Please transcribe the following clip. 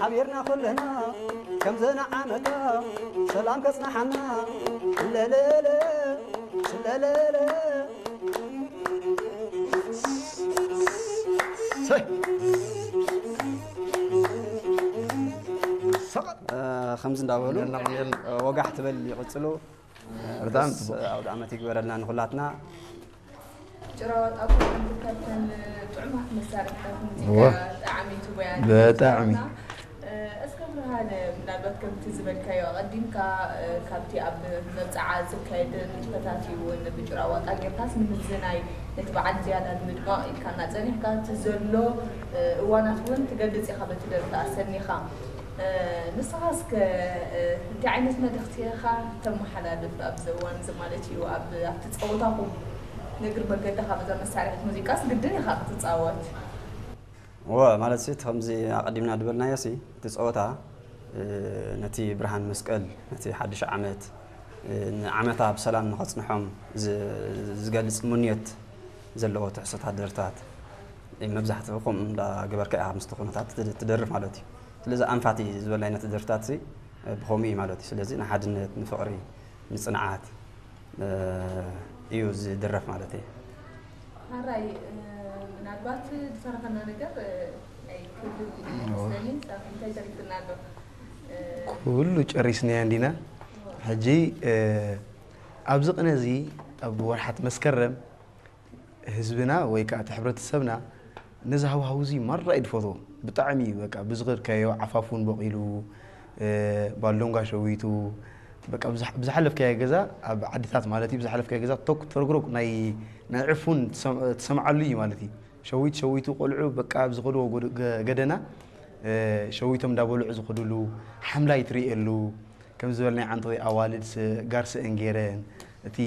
ሓቢርና ኩልና ከም ዘና ዓመታ ሰላም ከጽናሓና። ለለለ ለለለ ሰይ ሰቐጥ ከምዚ እንዳበሉ ወጋሕ ትበል ይቕጽሉ። ብጣዕሚ ጽቡቕ። ኣውደ ዓመት ይግበረልና ንኹላትና። ጭራዋጣ ኩለን ካብተን ጥዑማት መሳርሕታት ሙዚቃ እወ። ጠዓሚቱ ወያ በጣዕሚ። እስከ ብርሃነ፣ ምናልባት ከምቲ ዝበልካዮ ኣቐዲምካ፣ ካብቲ ኣብ መብጽዓ ዝካየድ ንጥፈታት እዩ እውን ብጭራዋጣ ጌርካስ ንምዝናይ ነቲ በዓል ዝያዳ ንምድማቕ ኢልካና ጸኒሕካ፣ እቲ ዘሎ እዋናት እውን ትገልጽ ኢኻ በቲ ደርፊ ኣሰኒኻ። ንስኻ እስከ እንታይ ዓይነት መልእኽቲ ኢኻ ተመሓላልፍ ኣብዚ እዋን እዚ ማለት እዩ? ኣብ ኣብቲ ጸወታኹም ንእግር መገድኻ በዛ መሳርሒት ሙዚቃስ ግድን ኢኻ ክትጻወት። እወ፣ ማለት ሲ፣ እቲ ከምዚ ኣቐዲምና ዝበልናዮ ሲ፣ እቲ ጸወታ፣ እ፣ ነቲ ብርሃን መስቀል፣ ነቲ ሓድሽ ዓመት፣ እ፣ ንዓመታ ብሰላም ንኸጽንሖም ዝ-፣ ዝገልጽ ምንዮት ዘለዎ ትሕዝቶታት ደርፍታት፣ እ፣ መብዛሕትኡ ከምኡ እንዳገበርካ ኢኻ ምስቲ ኩነታት ትድ-፣ ትደርፍ ማለት እዩ። ስለዚ ኣንፋት እዩ ዝበልናዮ ነቲ ደርፍታት ሲ፣ እ፣ ብኸምኡ እዩ ማለት እዩ። ስለዚ ንሓድነት፣ ንፍቕሪ፣ ንጽንዓት፣ እ፣ እዩ ዝድረፍ ማለት እዩ። ሓራይ፣ እ፣ ምናልባት ዝተረፈና ነገር፣ እ፣ ኣይክህልው እዩ እወ። ዝመስለኒ። ሳሚ፣ እንታይ ተሪፉና ኣሎ? እ፣ ኩሉ ጨሪስናዮ እንዲና። ሕጂ፣ እ፣ ኣብዚ ቅነ እዚ ኣብ ወርሓት መስከረም ህዝብና ወይ ከዓ እቲ ሕብረተሰብና ነዚ ሃዋህው እዚ ማራ እዩ ዝፈትዎ። ብጣዕሚ እዩ በቃ ብዝኸድካዮ ዓፋፉን በቒሉ፣ እ፣ ባሎንጋ ሸዊቱ፣ በቃ ብዝሓ-፣ ብዝሓለፍካዮ ገዛ ኣብ ዓድታት ማለት እዩ፣ ብዝሓለፍካዮ ገዛ ቶክ ተረግረግ ናይ፣ ናይ ዕፉን ትሰም-፣ ትሰምዓሉ እዩ ማለት እዩ። ሸዊት ሸዊቱ ቆልዑ በቃ ኣብ ዝኸድዎ ጎድ-፣ ገ-፣ ገደና፣ እ፣ ሸዊቶም እንዳበልዑ ዝኸድሉ፣ ሓምላይ ትርእየሉ፣ ከም ዝበልናዮ ዓንተወይ ኣዋልድ ስ-፣ ጋር ስእን ገይረን፣ እቲ